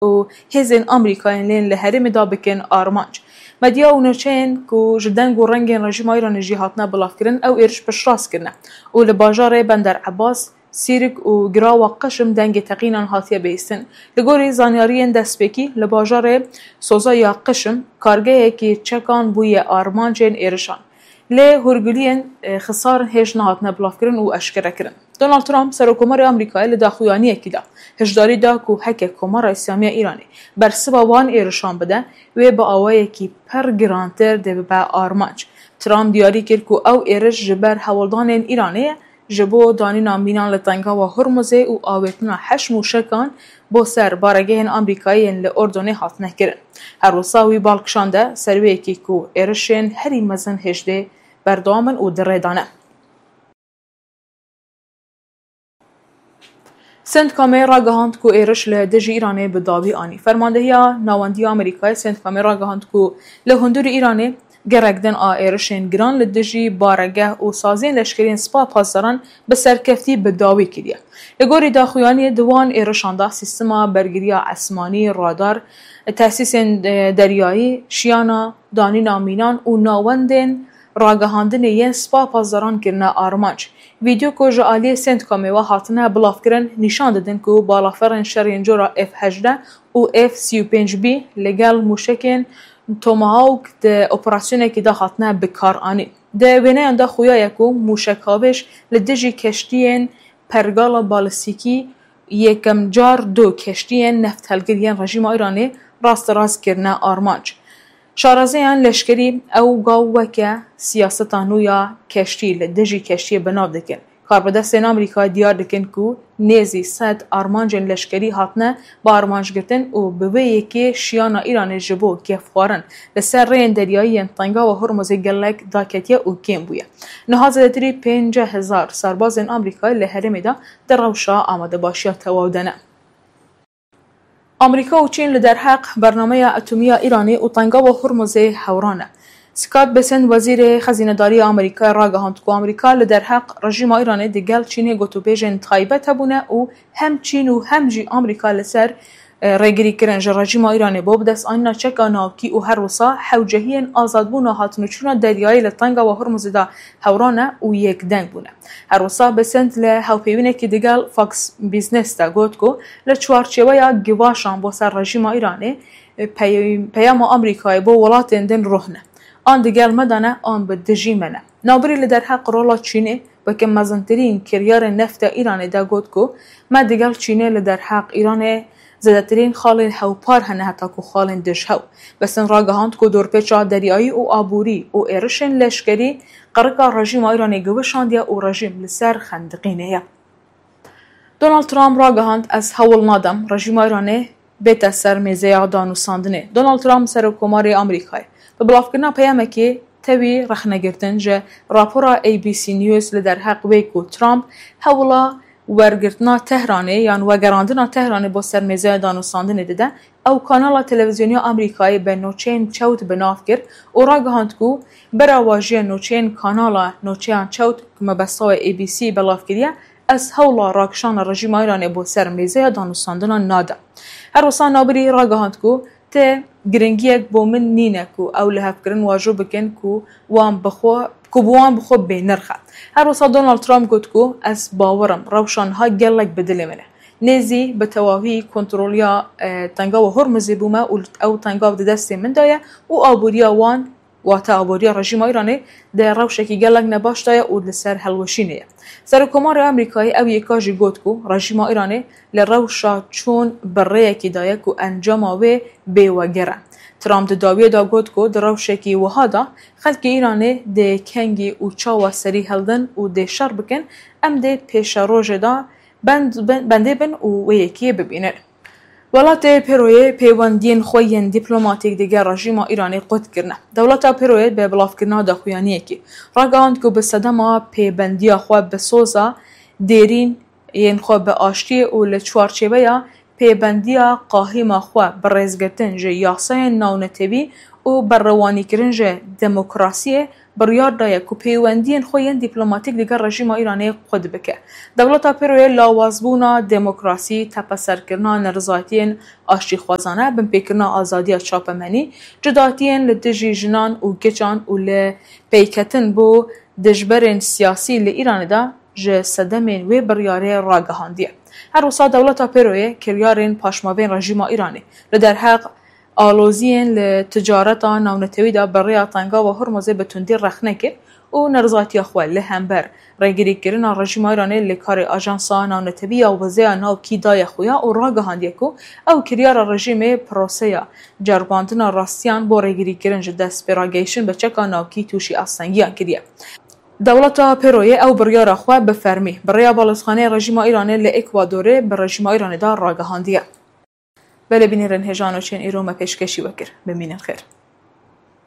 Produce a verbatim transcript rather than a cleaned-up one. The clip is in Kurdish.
û hêzên Amerîkayên lên li herêmê de bikin armanc. Medya û nûçeyên ku ji deng û rengên rejîma Îranê jî hatine bilavkirin, ew êriş piştrast kirine û li bajarê Bender Ebas, Sîrik û Girawa Qişim dengê teqînan hatiye bihîstin. Li gorî zanyariyên destpêkî, li bajarê Soza ya Qişim kargehekî çekan bûye armancên êrişan. Lê hûrguliyên, e, xisarin hêj nehatine bilavkirin û eşkere kirin. Donald Trump, Serokkomarê Amerîkayê, li daxuyaniyekî de hişdarî da ku heke Komara Îslamiya Îranê bersiva wan êrişan bide, wê bi awayekî pir girantir dê bibe armanc. Trump diyarî kir ku ew êriş ji ber hewldanên Îranê ye, ji bo danîna mînan li Tengawa Hormuzê û avêtina heşt mûşekan bo ser baregehên Amerîkayê yên li Urdunê hatine kirin. Her wisa wî bal kişande ser wê yekê ku êrişên herî mezin hêjdê berdewam in û di rê de ne. Centcomê ragihand ku êriş li dijî Îranê bi dawî anî. Fermandehiya Nawendiya Amerîkayê Centcomê ragihand ku li hundirê Îranê gerek din a êrişên giran li dijî baregeh û saziyên leşkerî yên Spa Pasdaran bi serkeftî bi dawî kiriye. Li gorî daxuyaniyê di wan êrişan de sîstema bergiriya esmanî, radar, tesîsên, e, deryayî, şiyana danîna mînan û nawendên ragihandinê yên Spa Pasdaran kirine armanc. Vîdeo ku ji aliyê Centcomê ve hatine bilavkirin nîşan didin ku balafirên şer yên cora F hejdeh û F sî û pênc B li gel mûşekên Tomahawk di operasyonekî de hatine bikaranîn. Di wêneyan de xuya ye ku mûşekhavêj li dijî keştiyên pergala balistîkî yekem car du keştiyên nefthilgir yên rejîma Îranê rasterast kirine armanc. Şarezeyan leşkerî ew gav weke siyaseta nû ya keştî li dijî keştiyê bi nav dikin. Karbidestên Amerîkayê diyar dikin ku nêzî sed armancên leşkerî hatine bi armanc girtin û bi vê yekê şiyana Îranê ji bo gefxwarin li ser rêyên deryayî yên Tengawa Hormuzê gelek daketiye û kêm bûye. Niha zêdetirî pêncî hezar serbazên Amerîkayê li herêmê de di rewşa amadebaşiya tewaw de ne. Amerîka û Çîn li derheq bernameya etomî ya Îranê û Tengawa Hormuzê hewran e. Scott Bessent, wezîrê xezînedarî ya Amerîkayê, ragihand ku Amerîka li derheq rejîma Îranê digel Çînê gotûbêjên taybet hebûne û hem Çîn û hem jî Amerîka li ser, e, rêgirîkirin ji rejîma Îranê bo bidest anîna çeka navkî û her wisa hewcehiyên azadbûna hatinûçûna deryayî li Tengawa Hormuzê de hewran e û yekdeng bûne. Her wisa Bessent li hevpeyvînekî digel Fox Business de got ku li çarçeweya givaşan bo ser rejîma Îranê, e, pey-, peyama Amerîkayê bo welatên din ruhne. An digel me de ne, an bi dijî me ne. Navbirî li derheq rola Çînê weke mezintirîn kiryarên nefta Îranê de got ku me digel Çînê li derheq Îranê zêdetirîn xalên hewpar hene heta ku xalên dijhew. Bessent ragihand ku dorpêça deryayî û aborî û êrişên leşkerî qirika rejîma Îranê giwişandiye û rejîm li ser xendiqînê ye. Donald Trump ragihand, ez hewl nadim rejîma Îranê bête ser mêzeya danûstandinê. Donald Trump, Serokkomarê Amerîkayê, bi bilavkirina peyamekê tevî rexnegirtin ji rapora A B C News li derheq wê ku Trump hewla wergirtina Tehranê yan vegerandina Tehranê bo ser mêzeya danûstandinê dide, ew kanala televîzyonî ya Amerîkayê bi nûçeyên çewt bi nav kir û ragihand ku berawajiya nûçeyên kanala nûçeyan çewt ku mebesta wê A B C belav kiriye, ez hewla rakişana rejîma Îranê bo ser mêzeya danûstandina nadim. Her wisa navbirî ragihand ku ti giringiyek bo min nîne ku ew lihevkirin wajo bikin ku wan bi xwe, ku bi wan bi xwe bênirx e. Her wisa Donald Trump got ku ez bawer im rewşa niha gelek bi dilê min e. Nêzî bi tewahî kontroliya, e, Tengawa Hormuzê bûme û ew tengav di destê min de ye û aboriya wan, wate aboriya rejîma Îranê, di rewşekî gelek nebaş de ye û li ser hilweşînê ye. Serokkomarê Amerîkayê ew yeka jî got ku rejîma Îranê li rewşa çûn bi rêyekî de ye ku encama wê bêweger e. Trump di dawiyê de got ku di rewşekî wiha de xelkê Îranê dê kengî û çawa serî hildin û dê şer bikin, em dê pêşerojê de bend-, ben-, bendê bin û wê yekê bibînin. Welatê Pêroyê pêwendiyên xwe yên dîplomatîk digel rejîma Îranê qut kirine. Dewleta Pêroyê bi bilavkirina daxuyaniyekê ragihand ku bi sedema pêbendiya xwe bi soza dêrîn yên xwe bi aştiyê û li çarçeveya pêbendiya qahîma xwe bi rêzgirtin ji yasayên navnetewî û berrewanîkirin ji demokrasiyê biryar daye ku pêwendiyên xwe yên dîplomatîk digel rejîma Îranê qut bike. Dewleta Pêroyê lawazbûna demokrasî, tepeserkirina nerizayetiyên aştîxwazane, binpêkirina azadiya çapemenî, cudatiyên li dijî jinan û giçan û li peyketin bo dijberên siyasî li Îranê de ji sedemên wê biryarê ragihandiye. Her wisa dewleta Pêroyê kiryarên paşmavên rejîma Îranê li derheq aloziyên li ticareta navnetewî de bi rêya Tengava Hormuzê bi tundî rexne kir û nerizatiya xwe li hember rêgirîkirina rejîma Îranê li karê ajansa navnetewî ya Wezeya Navkî daye xuya û ragihandiye ku ew kiryara rejîmê proseya ceribandina rastiyan bo rêgirîkirin ji destpêragehiştin bi çeka navkî tûşî astengiyan kiriye. Dewleta Pêroyê ew biryara xwe bi fermî bi rêya balozxaneyê rejîma Îranê li Ekwadorê bi rejîma Îranê de ragihandiye. Belê bînerên hêja nûçeyên îro me pêşkêşî we kir. Bimînin xêr.